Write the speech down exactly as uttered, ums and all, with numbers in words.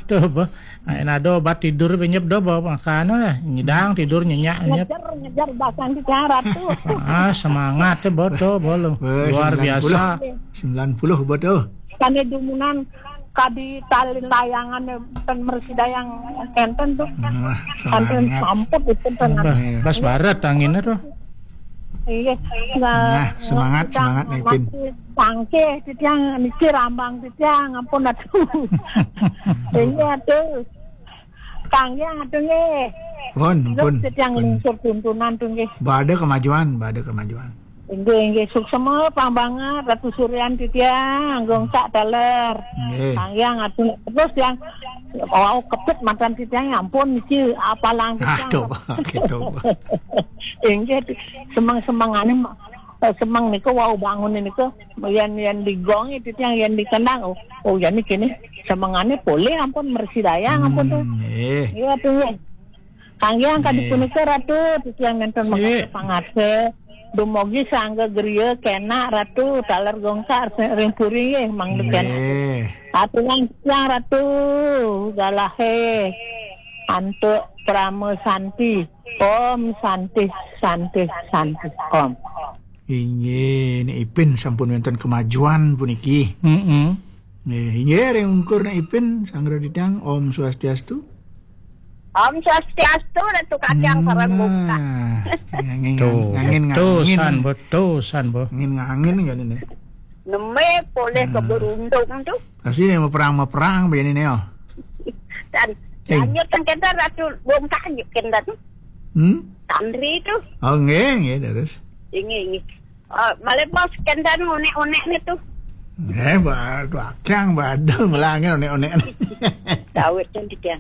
Tuh, bah. Nah, ada obat tidur, penyep do, bah, makan, eh. Nyidang, tidur, nyenyak, nyep. Ngejar, ngejar, bahkan di darat tuh. Ah, semangat, eh, bodo, bolo. Weh, Luar sembilan puluh. Biasa. Sembilan puluh, bodo. Kami dumunan, kadi tali layangan, eh, ten mersidayang kenten tuh. Wah, kenten semangat. Samput itu, tenang. Bah, bas barat anginnya tuh. Iya. Nah, semangat, semangat, Ipin. Tangke, titiang, niki rambang, titiang, ampun, aduh. Iya, tuh. Kang Yang, aduh, nggih. Pun, pun, titiang pun. Lungsur tuntunan, tuh, nggih. Bade kemajuan, bade kemajuan. Inggih, inggih, suksema, pang banget, Ratu Suryan, titiang, gong sak taler. Nggih. Kang Yang, aduh, terus yang, wow, kepet matan titiang, ya ampun, niki apalang titiang. Aduh, gitu. Inggih, semeng-semengane, eh, semeng niku wau bangun niku, yen, yen digong itu yang yen dikendang, oh, oh, yen kene semengane polih ampun mersidayang ampun tuh. Hmm, eh. Iya tuh, ya. Kang Yang kadi punika Ratu, titiang nenten mangase pangase. Dumogi sangga griya kenak Ratu, taler gongkar ring puri nggih, mangda kenak. Nggih. Aturan titiang Ratu, galahe antuk Parama Santi. Om Santi, Santi, Santi, Om. Inggih, Nek Ipin sampun wenten kemajuan puniki. Heeh. Nggih, inggih, ring ungkur Nek Ipin, sanggra titiang, Om Swastiastu. Om Swastiastu, Ratu Kacang sareng Bungkak. Nah, ngangin, tuh, ngangin, betusan, ngangin. Betusan, Bo. Ngangin, ngangin, kan ini. Neme poleh keberuntung tuh. Pasti nih, mau perang, mau perang, begini nih, oh. Dan, eh, lanjut kan kita Ratu Bungkak, lanjut kan. Hmm? Tandri tuh. Oh, nggih, nggih, terus. Inggih, inggih. Oh, malih bos kendan onek-onek ni tuh. Eh, ba-, bakang, badung, melanggar onek-onek ni. Dawet kan titiang.